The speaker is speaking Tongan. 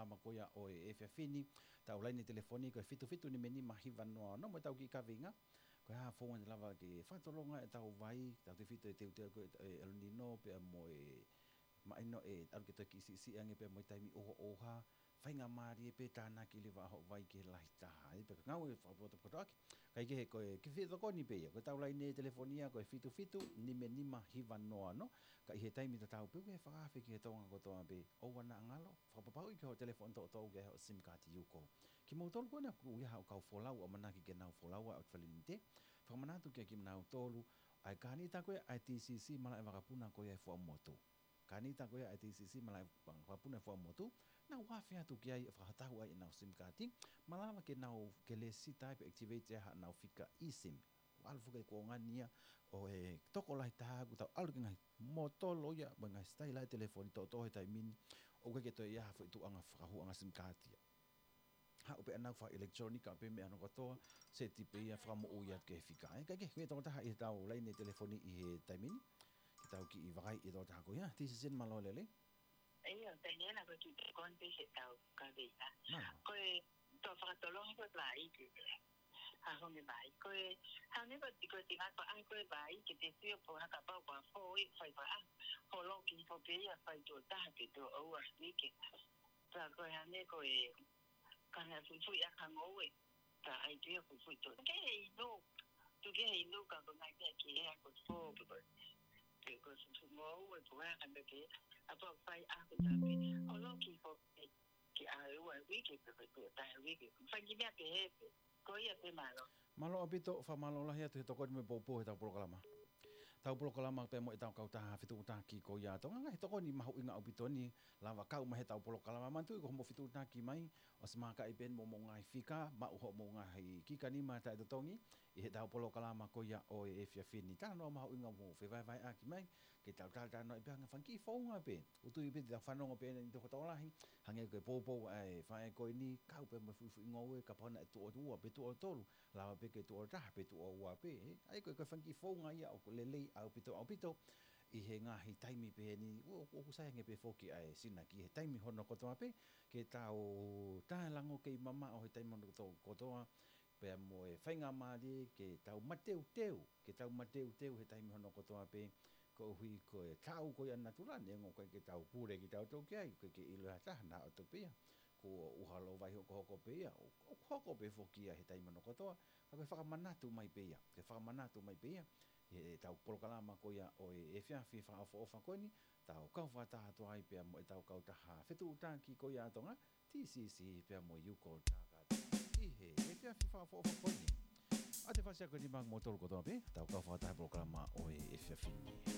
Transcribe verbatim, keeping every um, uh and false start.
polokalama ko ia ʻo e efiafi ni. Tau laine telefoni ko e fitu fitu nima nima hiva noa noa mo ʻetau kiʻi kaveinga. Ko e hā e founga te lava ke fakatolonga ʻetau vai, tau tefito e teuteu ko e, e El Nino pea mo e mahino ʻe ʻalu ke toe kiʻi siʻisiʻi ange pea mo e taimi ʻohoʻoha, faingamālie pē tānaki leva hoʻo vai ki he lahi taha. ʻE pea ka ngāue fakapotopoto ʻaki. Kae kehe ko e kiʻi fetokoni pē ia. Ko ʻetau laine telefoni ia ko e fitu fitu nima nima hiva noa noa. Ka ʻi he taimi tatau pē ʻoku ke fakaafe ki he Tonga kotoa pē, ʻoua naʻa ngalo, fakapapauʻi ko hoʻo telefoni toʻotoʻo ʻoku ʻi ai hoʻo SIM kaati UCODE. Kimoutolu ko ena ʻoku ʻi ai haʻo kau folau, ʻamanaki ke nau folau ʻa e ʻOtu Fakalelei Limited. Fakamanatu kia kimoutolu ʻa e kānita ko ia ʻa e TCC malaʻe vakapuna ko ia ʻi Fuaʻamotu. Kānita ko ia ʻa e TCC malaʻe vakapuna ʻi Fuaʻamotu, nau afe atu ki ai ʻo fakatau ai ʻenau SIM kaati, malava ke nau ke lēsisita ai pe activate ai haʻanau fika eSIM. ʻAlu foki e kuonga ni ia ʻo e tokolahi taha ʻoku tau ʻalu ki he ngaahi mōtolo ia, mo e ngaahi sitaila e telefoni toʻotoʻo he taimi ni, ʻoku ʻikai ke toe ʻi ai ha foʻi tuʻunga fakahūʻanga SIM kaati ia. Haʻu pē ʻenau fakaʻilekitulōnika pē meʻa hono kotoa, seti pē ia, fakamoʻui atu ki he fika. ʻE, kae kehe, ko e tokotaha ʻi heʻetau laine telefoni ʻi he taimi ni, ke tau kiʻi vakai ʻi he tokotaha ko ia. TCC, mālō e lelei. ʻIo, Taniela, ko e kiʻi konti heʻetau kaveinga. Mālō. Ko e, tau fakatolonga ko e vai ki he, ha honge vai. Ko e, hangē ko e tiko tina ko ʻa ko e vai, ke te sio pe ʻoku hā kapau ko e foʻi fai pa a, holoki hifo pē ia fai tuʻo taha pe tuʻo ua uike. Pea ko e hangē ko e, ka na fufuʻi ʻa ka ngoue. Ka ʻai pē ia fufuʻi tuʻo. Ke he inu, tuku ke he inu ka ko ngai pē ki he ako fō, pe ko, pe ko fufuʻi ngoue, pe ko e hā ka mea pē, ʻa pau fai ako tā pē. Holoki hifo pē, ki ʻa e ua uike pe ko e tuʻo taha uike. Fai ki meʻa pehē pē. Ko ia pē, mālō. Mālō ʻaupito, fakamālō lahi atu he tokoni mo e poupou heʻetau polokalama. Tau polokalama pea mo ʻetau kautaha fetuʻutaki ko ia ʻa Tonga, ngaahi tokoni mahuʻinga ʻaupito ni, lava kau mai heʻetau polokalama. Manatuʻi ko hoʻomou fetuʻutaki mai, ʻosi mākaʻi pē eni mo hoʻomou ngaahi fika, maʻu hoʻomou ngaahi kiʻi kanima taʻetotongi ʻi heʻetau polokalama ko ia ʻo e efiafi ni. Talanoa mahuʻinga mo fevahevaheʻaki mai, ke tau talatalanoaʻi pē ʻa e ngaahi fanga kiʻi founga pē. ʻOku ou tui pē te tau fanongo pē eni ʻi he tokolahi, hangē ko e poupou ʻa e faʻē ko eni, kau pē mo e fufuʻi ngoue, kapau naʻe tuʻo ua pe tuʻo tolu, lava pē ke tuʻo taha pe tuʻo ua pē, ē. ʻA ia ko e, ko e fanga kiʻi founga ia ʻoku lelei ʻaupito, ʻaupito, ʻi he ngaahi taimi pehē ni, ʻo, ʻoku sai ange pē foki ʻa e sinaki he taimi hono kotoa pē, ke tau taʻelango kei mamaʻo he taimi hono koto-, kotoa, pea mo e faingamālie ke tau mateuteu, ke tau mateuteu he taimi hono kotoa pē, koeʻuhi ko e taʻu ko ia natula, neongo ʻoku ʻikai ke tau pule kitautolu ki ai, ʻoku ʻikai ke ʻilo ʻe ha taha naʻa ʻoku tō pē ia, kuo ʻuha lō vai hokohoko pē ia, ʻo, ʻoku hoko pē foki ia he taimi hono kotoa, ka ko e fakamanatu mai pē ia, ke fakamanatu mai pē ia, heʻetau polokalama ko ia ʻo e efiafi fakaʻofoʻofa ko eni, tau kau fakataha atu ai pea mo ʻetau kautaha fetuʻutaki ko ia ʻa Tonga, TCC pea mo e UCODE Takata. ʻI he efiafi fakaʻofoʻofa ko eni. ʻOatu e fakaʻapaʻapa ko eni maʻa kimoutolu kotoa pē, tau kau fakataha he polokalama ʻo e efiafi ni.